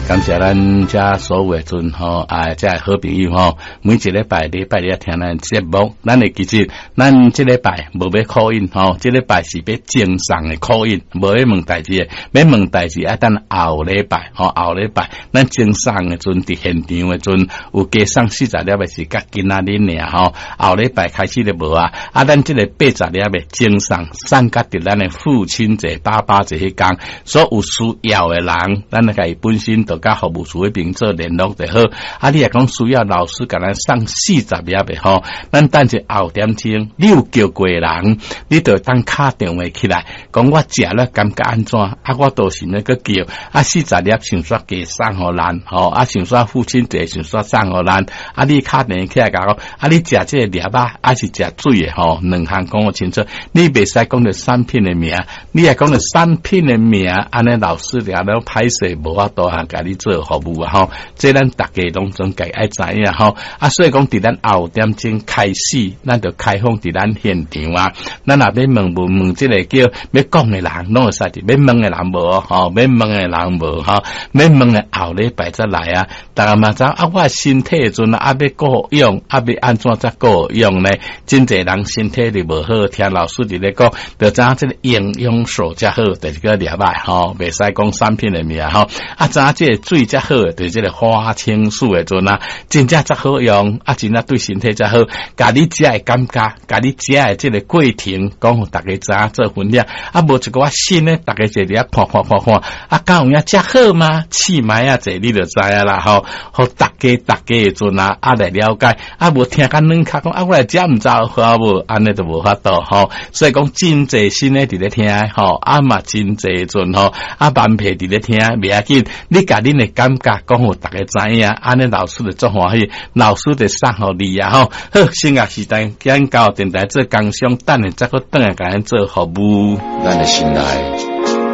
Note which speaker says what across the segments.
Speaker 1: 感謝咱遮所有的陣吼，啊，遮好朋友吼，每一禮拜禮拜日聽咱節目，咱會記得，咱這禮拜無欲 call in 吼，這禮拜是欲贈送的 call in，無欲問代誌的，欲問代誌愛等後禮拜吼，後禮拜咱贈送的陣佇現場的陣有加送40粒的是佮今仔日爾吼，後禮拜開始就無啊，啊，咱這個80粒的贈送送佮佇咱的父親節、爸爸節彼工，所有需要的人，咱來共伊本身就佮服務處彼邊做聯絡就好。啊，你若講需要老師共咱送四十粒的吼，咱等一後點鐘，你有叫過的人，你就當敲電話起來，講我食了感覺按怎？啊，我都是咧閣叫，啊，四十粒想說加送予咱吼，啊，想說父親節想說送予咱，啊，你敲電話起來共講，啊，你食這個粒仔，還是食水的吼？兩項講予清楚，你袂使講著產品的名，你若講著產品的名，按呢老師掠了歹勢，無法度通共你做服務啊吼。這咱逐家攏總家愛知影吼。啊，所以講佇咱後點鐘開始，咱就開放佇咱現場啊。咱若欲問問問這個叫欲講的人，攏會使佇欲問的人無吼，欲問的人無吼，欲問的後禮拜才來啊。逐家嘛知啊，我身體的陣啊，欲顧養，啊，欲按怎才顧養呢？真濟人身體就無好，聽老師佇咧講，就知影這個營養素才好，就是個粒仔吼，袂使講產品的名吼。啊，知影這個水才好，就是這個花青素的陣啊，真正才好用，啊，真正對身體才好。共你食的感覺，共你食的這個過程，講予逐家知影做分享。啊，無一寡新的，逐家坐佇遐看看看看，啊，敢有影遮好嗎？試覓仔者你就知影啦吼。予逐家逐家的陣啊，啊來了解，啊無聽較軟殼講，啊我來食毋知好無？按呢就無法度吼。所以講真濟新的佇咧聽吼，啊嘛真濟陣吼，啊慢皮佇咧聽，袂要緊。你共恁的感覺講予逐家知影，按呢老師就足歡喜，老師就送予你啊吼。好，先額時間間到電台做工商，等下再閣轉來共咱做服務。
Speaker 2: 咱的心內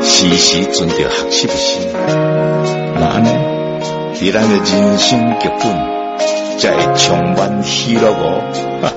Speaker 2: 時時存著學習的心，若按呢，佇咱的人生劇本才會充滿喜樂哦。